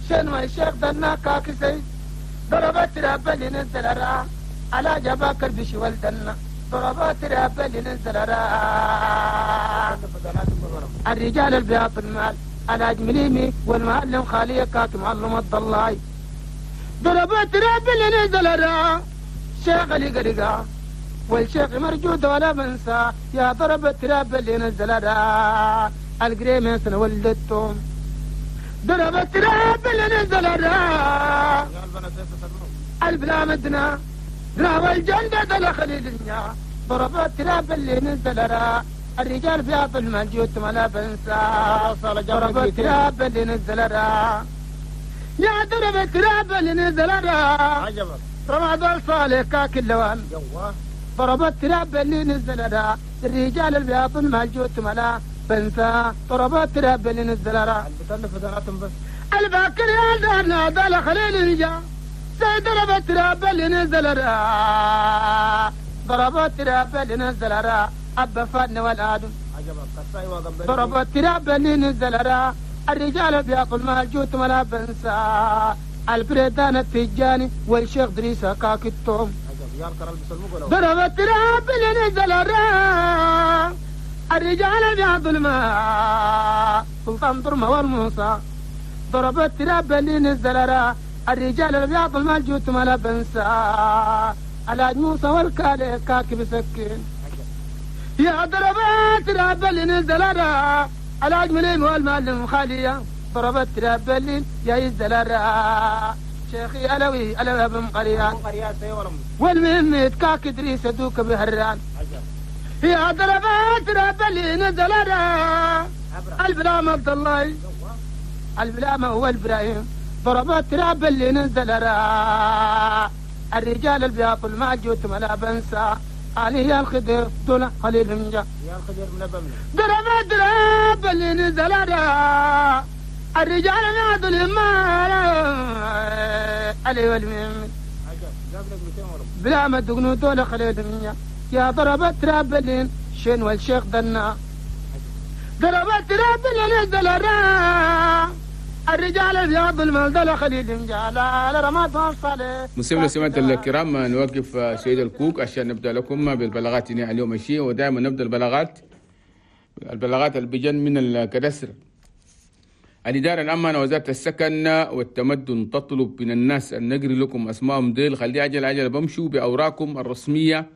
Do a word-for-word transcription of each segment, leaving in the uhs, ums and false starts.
شنو الشيخ دنا كاكسي ضربت راب اللي نزل را على جباك البش والدنا ضربات راب اللي نزل را الرجال البياض المال على جمليمي والمعلم خالية كاك معلم الضلاي ضربات راب اللي نزل را شيخ اللي قرقا والشيخ مرجود ولا بنسى يا ضربت راب اللي نزل را القريمة سنة ولدتهم ضربت راب اللي نزل را البلا مدنا دنا والجندة دل خليل النيا ضربت راب اللي نزل را الرجال في عطل المنجوت ما لا بنسى ضربت راب اللي نزل را يا ضربت راب اللي نزل را رمضان صالح كاك اللوان ضربت راب اللي نزل را الرجال البياض المالجوت ملا بنسى ضربت راب اللي نزل را الباكر يا دارنا دال خليل الجا سيد ضربت راب اللي نزل را ضربت راب اللي نزل را أبا فاتنا والآدم ضربت راب اللي نزل را الرجال البياض المالجوت ملا بنسى البريدان التجاني والشيخ دريسة كاك التوم ضربت راب اللي نزل را الرجال بيعض الماء سلطان ضرمة والموسى ضربت راب اللي نزل را الرجال بيعض الماء الجوت ما لا بنسى على موسى والكالي كاك بسكين يا ضربت راب اللي نزل را على جملين والمعلم خالية ضربت راب اللي يا يزل را شيخي علوي علوي بن قريان والمهم كاك ادريس دوك بهران يا ضربات راب اللي نزل را البلام عبد الله البلام هو ابراهيم ضربات راب اللي نزل را الرجال البياض المعجوت ما بنسى علي يا الخضر دون خليل منجا يا الخضر من بمن ضربات راب اللي نزل را الرجال نادوا المال علي والمهم بلا ما دقنوا دول خليل منيا يا ضربت رابلين شين والشيخ دنا ضربت رابلين نزل را الرجال الابيض المال خليل مجال رمضان صالح. مسلمين سمعة الكرام، نوقف سيد الكوك عشان نبدا لكم بالبلاغات اليوم الشيء، ودائما نبدا البلاغات البلاغات اللي بجن من الكدسر. الإدارة العامة وزارة السكن والتمدن تطلب من الناس أن نجري لكم أسمائهم ديل، خلي عجل عجل بمشوا بأوراقكم الرسمية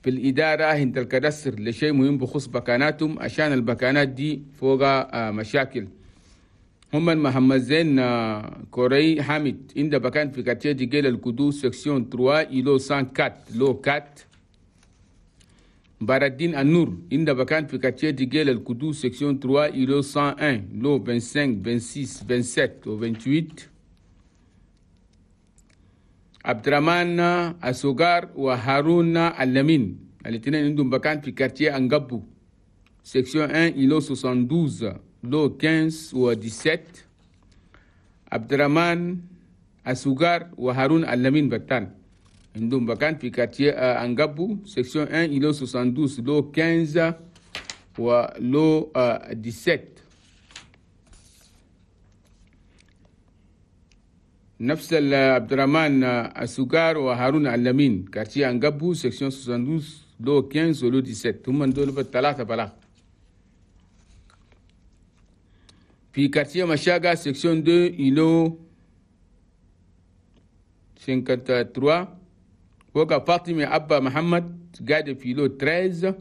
في الإدارة عند الكدسر لشيء مهم بخصوص بكاناتهم، عشان البكانات دي فوق مشاكل. هم محمد زين كوري حامد عند بكان في quartier ديجيل القدوس section ثلاثة îlot مئة وأربعة lot أربعة. بارالدين النور عند بكان في quartier ديجيل القدوس section ثلاثة îlot مئة وواحد lot خمسة وعشرين ستة وعشرين سبعة وعشرين و ثمانية وعشرين. عبد الرحمن السوغار وهارون اللمين الاثنين عندهم بكان في quartier انقبو section واحد îlot اثنين وستين lot خمسة عشر و سبعة عشر. عبد الرحمن السوغار وهارون اللمين بتان عندهم بكان في quartier انقبو section واحد îlot اثنين وستين lot خمسة عشر و lot سبعة عشر. نفس عبد الرحمن السوغار وهارون اللمين quartier انقبو section اثنين وستين lot خمسة عشر و lot سبعة عشر، هم دول بالثلاثة بلاغ. في quartier مشاغا section اثنين îlot ثلاثة وخمسين وقع فاطمة أبا محمد قاعد في îlot ثلاثة عشر،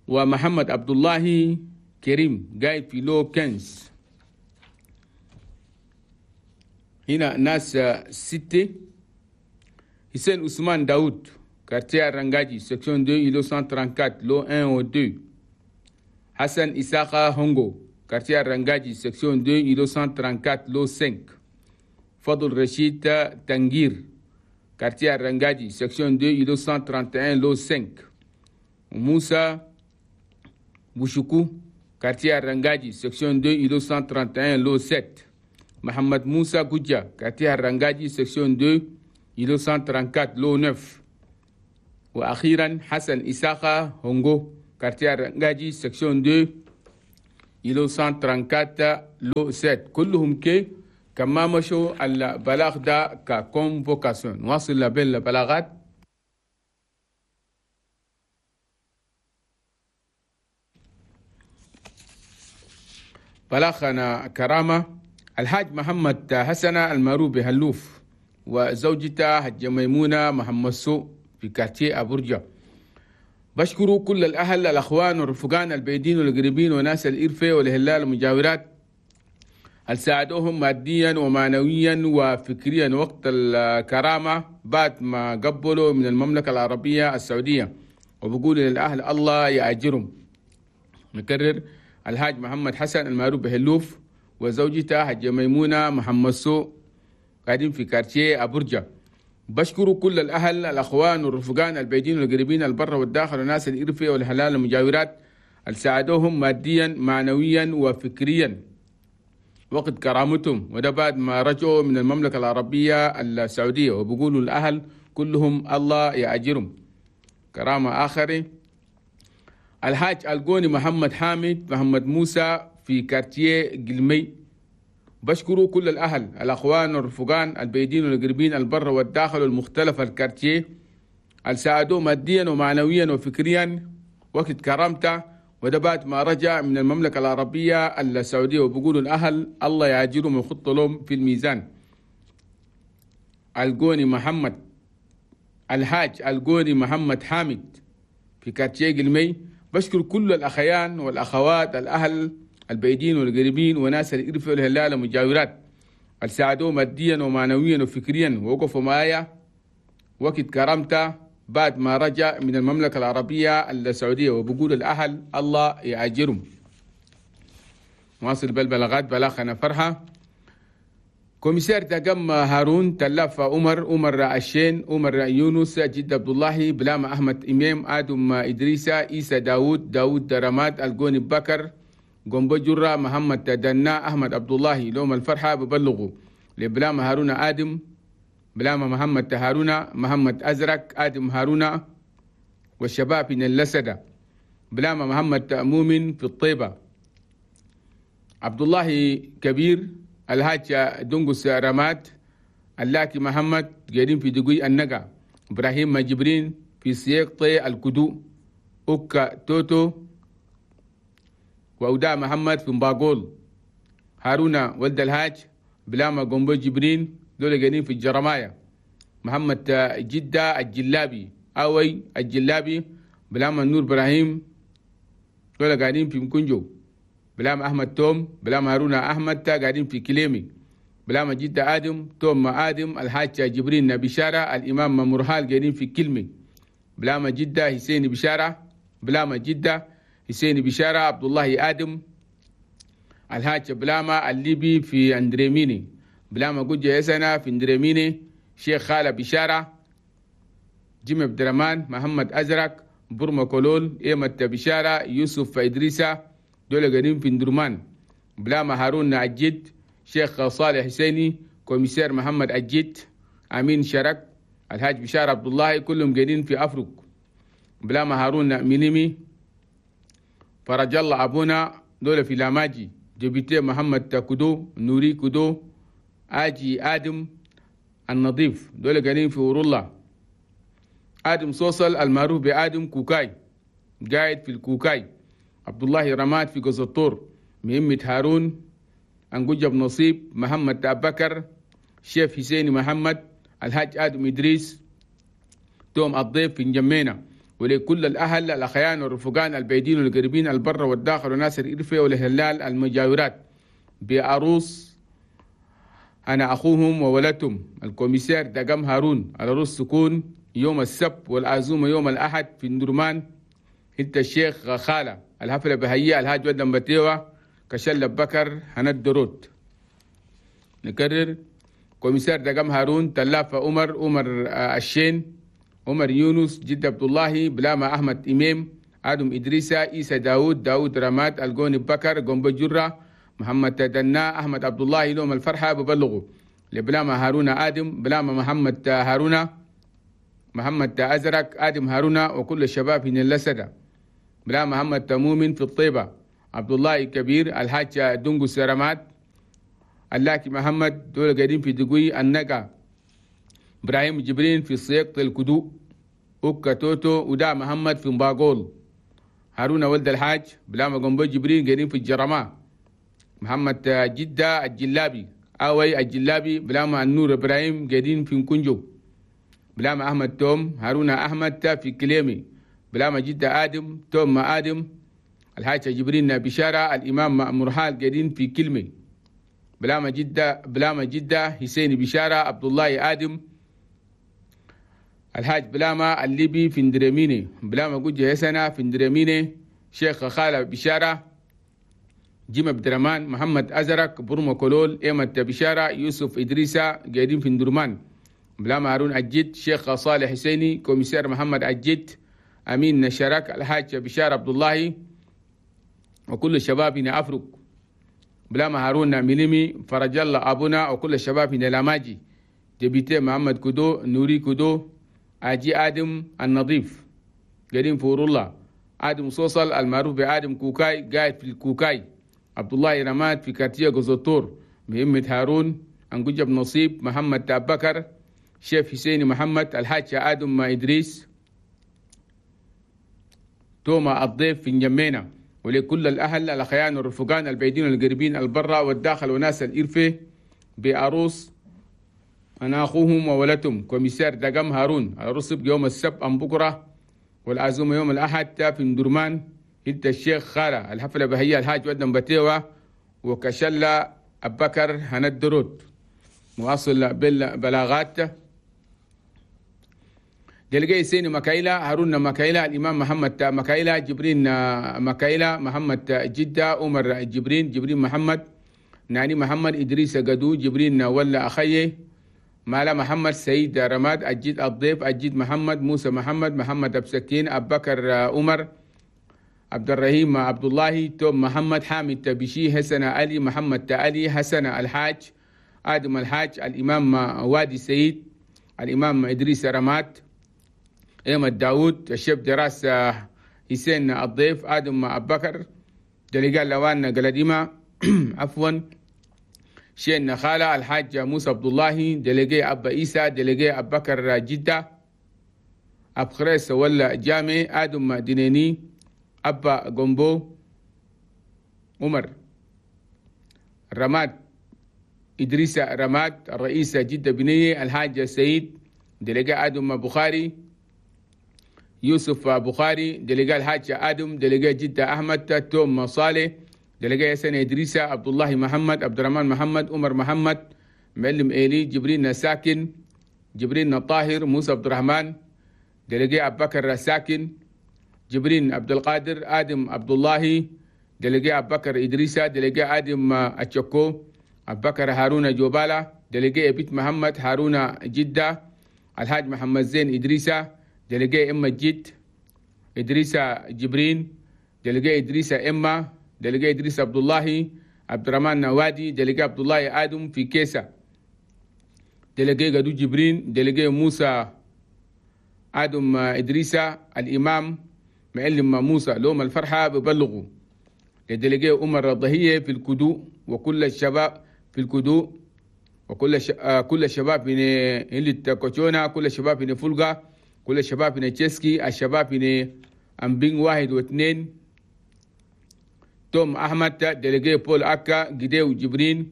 ومحمد عبد الله كريم قاعد في lot خمسة عشر. هنا ناس ستة. حسين عثمان داود quartier رنجاجي section اثنين îlot مئة وأربعة وثلاثين lot واحد و اثنين. حسن إساقا هونغو quartier رنجاجي section اثنين îlot مئة وأربعة وثلاثين lot خمسة. فضل رشيد تنجير quartier رنجاجي section اثنين îlot مئة وواحد وثلاثين lot خمسة. وموسى بوشكو quartier رنجاجي section اثنين îlot مئة وواحد وثلاثين lot سبعة. محمد موسى جوجا quartier رنجاجي section اثنين îlot مئة وأربعة وثلاثين lot تسعة. وأخيرا حسن إساقا هونغو quartier رنجاجي section اثنين îlot cent trente-quatre lot sept. كلهم كي كما مشوا البلاغ ده ك convocation. نواصل بالبلاغات. بلاغنا كرامة الحاج محمد حسن المعروف بهلوف وزوجته حجة ميمونة محمد سو في quartier أبورجا. بشكروا كل الأهل الأخوان والرفقان البعيدين والقريبين وناس الإرفة والهلال المجاورات هل ساعدوهم ماديا ومعنويا وفكريا وقت الكرامة بعد ما قبلوا من المملكة العربية السعودية، وبقول للأهل الله يأجرهم. نكرر الحاج محمد حسن المعروف بهلوف وزوجته حجة ميمونة محمد سو قاعدين في quartier أبورجا. بشكروا كل الأهل الأخوان والرفقان البعيدين والقريبين البر والداخل وناس الإرفة والهلال المجاورات اللي ساعدوهم ماديا معنويا وفكريا وقت كرامتهم، وده بعد ما رجعوا من المملكة العربية السعودية، وبقولوا الأهل كلهم الله يأجرهم. كرامة آخر الحاج القوني محمد حامد محمد موسى في quartier قلمي. بشكروا كل الأهل الأخوان والرفقان البعيدين والقريبين البر والداخل والمختلف ال quartier اللي ساعدوه ماديا ومعنويا وفكريا وقت كرامته، وده بعد ما رجع من المملكة العربية السعودية، وبقولوا الأهل الله يعجلهم ويخط لهم في الميزان. القوني محمد الحاج القوني محمد حامد في quartier قلمي. بشكر كل الأخيان والأخوات الأهل البعيدين والقريبين وناس الإرفة والهلال المجاورات اللي ساعدوه ماديا ومعنويا وفكريا ووقفوا معايا وقت كرامته بعد ما رجع من المملكة العربية السعودية، وبقول الأهل الله يأجرهم. واصل بالبلاغات. بلاغنا فرحة commissaire تقم هارون تلف عمر عمر الشين عمر يونس جد عبد الله بلام أحمد إمام آدم إدريسة إيسى داود داود رماد القوني بكر قنبو جرة محمد دنا أحمد عبد الله. لوم الفرحة ببلغوا لبلام هارون آدم بلام محمد هارون محمد أزرق آدم هارون والشباب من اللسدة بلام محمد مؤمن في الطيبة عبد الله كبير الهاج دنقس رماد اللاكي محمد قاعدين في دقوي النقا إبراهيم جبرين في سياق طي الكدو أوكا توتو وأوداء محمد في مباقول هارون ولد الهاج بلاما قنبو جبرين دول قاعدين في الجرماية محمد جدة الجلابي أوي الجلابي بلاما نور إبراهيم دول قاعدين في مكنجو بلام أحمد توم بلام هارون أحمد قاعدين في كليمي بلام جدة آدم توم آدم الحاج جبرين بشارة الإمام مرهال قاعدين في كلمي بلام جدة حسين بشارة بلام جدة حسين بشارة عبد الله آدم الحاج بلاما الليبي في اندريميني بلاما جوجة يسنا في اندريميني شيخ خالة بشارة جيم عبد الرحمن محمد أزرق برما كولول إيمة بشارة يوسف إدريسة دول قاعدين في اندرمان بلاما هارون عجيد شيخ صالح حسيني commissaire محمد عجيد أمين شرك الحاج بشارة عبد الله كلهم قاعدين في أفرق بلاما هارون مينيمي فرج الله أبونا دول في لاماجي député محمد كدو نوري كدو آجي آدم النظيف دول قاعدين في ورولله آدم صوصل المعروف بآدم كوكاي قاعد في الكوكاي عبد الله رماد في قزطور مهمة هارون أنجوجب نصيب محمد أبكر شيف حسين محمد الحاج آدم إدريس توم الضيف في نجمينا. ولكل الأهل الأخيان والرفقان البعيدين والقريبين البر والداخل وناس الإرفة والهلال المجاورات بعروس أنا أخوهم وولدتهم ال commissaire دقم هارون العروس سكون يوم السبت والعزومة يوم الأحد في ندرمان هلت الشيخ خالة الحفلة بهيئة الهاج ودم بتيوة كشل بكر هند دروت. نكرر commissaire دقم هارون تلافة عمر عمر الشين عمر يونس جد عبد الله بلاما أحمد إمام آدم إدريسة إيسى داود داود رماد القوني بكر قنبو جرة محمد تدنا أحمد عبد الله لهم الفرحة ببلغوا لبلاما هارون آدم بلاما محمد هارون محمد أزرق آدم هارون وكل الشباب من اللسدة بلا محمد تمومن في الطيبة عبد الله كبير الحاج دونغو سرمات اللاكي محمد دول قاعدين في دقوي النقا إبراهيم جبرين في سيق الكدو أوكا توتو ودا محمد في مباقول هارون ولد الحاج بلاما قنبو جبرين قاعدين في الجرماء محمد جدة الجلابي أوي الجلابي بلاما النور إبراهيم قاعدين في كنجو بلاما أحمد توم هارون أحمد في كليمي بلاما جدة آدم توم آدم الحاج جبرين بشارة الإمام مرحال قاعدين في كلمة بلاما جدة بلاما جدة حسين بشارة عبد الله آدم الحاج بلاما الليبي في اندرميني بلاما جوجة يسنة في اندرميني شيخ خالة بشارة جيم عبد الرحمن محمد أزرق برمو كولول إيمة بشارة يوسف إدريسة قاعدين في اندرمان بلاما هارون أجد شيخ صالح حسيني commissaire محمد أجد أمين نشرك الحاج بشارة عبد الله وكل الشباب هنا أفرق بلاما هارون ميليمي فرج الله أبونا وكل الشباب هنا لاماجي député محمد كودو نوري كودو أجي آدم النظيف قاعدين فور الله آدم صوصل المعروف بآدم كوكاي قاعد في الكوكاي عبد الله رماد في quartier غزوتور مهمة هارون أنجب نصيب محمد تابكر شيف حسين محمد الحاج آدم ما إدريس توما الضيف في نجمينا. ولكل الأهل الأخيان والرفقان البعيدين والقريبين البرة والداخل وناس الإرفة بأروس أنا أخوهم وولدهم commissaire دقم هارون الرصب يوم السبت أم بكرة والعزومة يوم الأحد في ندرمان هلت الشيخ خالة الحفلة بهية الحاج ودن بتيوة وكشلة أبكر هندرود مواصل بالبلاغات دلقي سيني مكايلة هارون مكايلة الإمام محمد مكايلة جبرين مكايلة محمد جدة عمر جبرين جبرين محمد ناني محمد إدريس قدو جبرين ولا أخيه مالا محمد سيد رماد أجد الضيف أجد محمد موسى محمد محمد أبسكين أبكر عمر عبد الرحيم عبد الله توم محمد حامد تبشي حسن علي محمد علي حسن الحاج آدم الحاج الإمام وادي سيد الإمام إدريس رماد أحمد داود الشيف دراسة حسين الضيف آدم أبكر دلقال لوان قلديمة عفوا شين خالة الحاج موسى عبد الله دلقي أبا إيسى دلقي أبكر جدة أبخريس ولا جامع آدم دينيني أبا قنبو عمر رماد إدريس رماد الرئيس جدة بنية الحاج سيد دلقي آدم بخاري يوسف بخاري دلقاء الحاج آدم دلقاء جدة أحمد توم صالح دلقاء يسن إدريس عبد الله محمد عبد الرحمن محمد عمر محمد معلم إيلي جبرين ساكن جبرين طاهر موسى عبد الرحمن دلقاء أبو بكر ساكن جبرين عبد القادر آدم عبد الله دلقاء أبو بكر إدريس دلقاء آدم أتشكو أبو بكر هارون جوبالة دلقاء بيت محمد هارون جدة الحاج محمد زين إدريس دلقاء إما جد إدريس جبرين دلقاء إدريس إما دلقاء إدريس عبد الله عبد الرحمن نوادي دلقاء عبد الله آدم في كيسة دلقاء قدو جبرين دلقاء موسى آدم إدريس الإمام معلم موسى لوم الفرحة ببلغوا لدلقاء عمر الضهية في الكدو وكل الشباب في الكدو وكل ش... كل الشباب من اللي كوتشونا كل الشباب من فولغا كل الشباب من تشيسكي الشباب من أمبين واحد واثنين توم أحمد délégué بول أكا جديو جبرين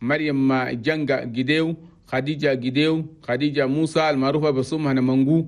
مريم جنجا جديو خديجة جديو خديجة موسى المعروفة بصمها منجو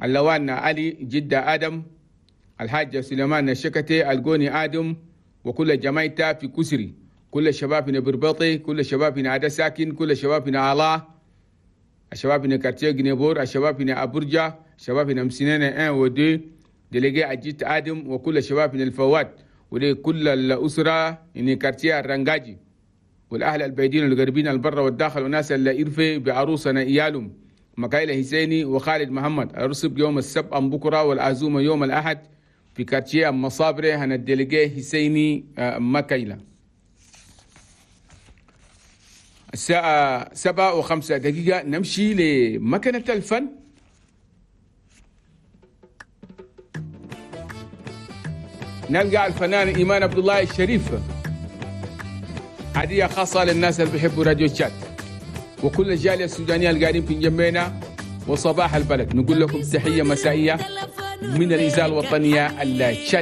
اللوان علي جدة آدم الحاج سليمان الشكتي الجوني آدم وكل جماعته في كسري كل الشباب من بربطي كل الشباب من عدا ساكن كل الشباب من علا الشباب من quartier جنيبور الشباب من أبرجة الشباب من مسنانة واحد و اثنين délégué أجيت آدم وكل الشباب من الفوات ولكل الأسرة من quartier الرنجاجي والأهل البعيدين والقريبين البر والداخل وناس اللي إرفي بعروسنا إيالهم مكايلة حسيني وخالد محمد الرسب يوم السبت أم بكرة والعزومة يوم الأحد في quartier مصابرة هنا ال délégué حسيني مكايلة. الساعة سبعة وخمسة دقيقة نمشي لمكنة الفن. نلقى الفنان إيمان عبد الله الشريف، هدية خاصة للناس اللي بيحبوا راديو تشاد وكل الجالية السودانية اللي قاعدين في انجمينا وصباح البلد. نقول لكم تحية مسائية من الإذاعة الوطنية التشادية.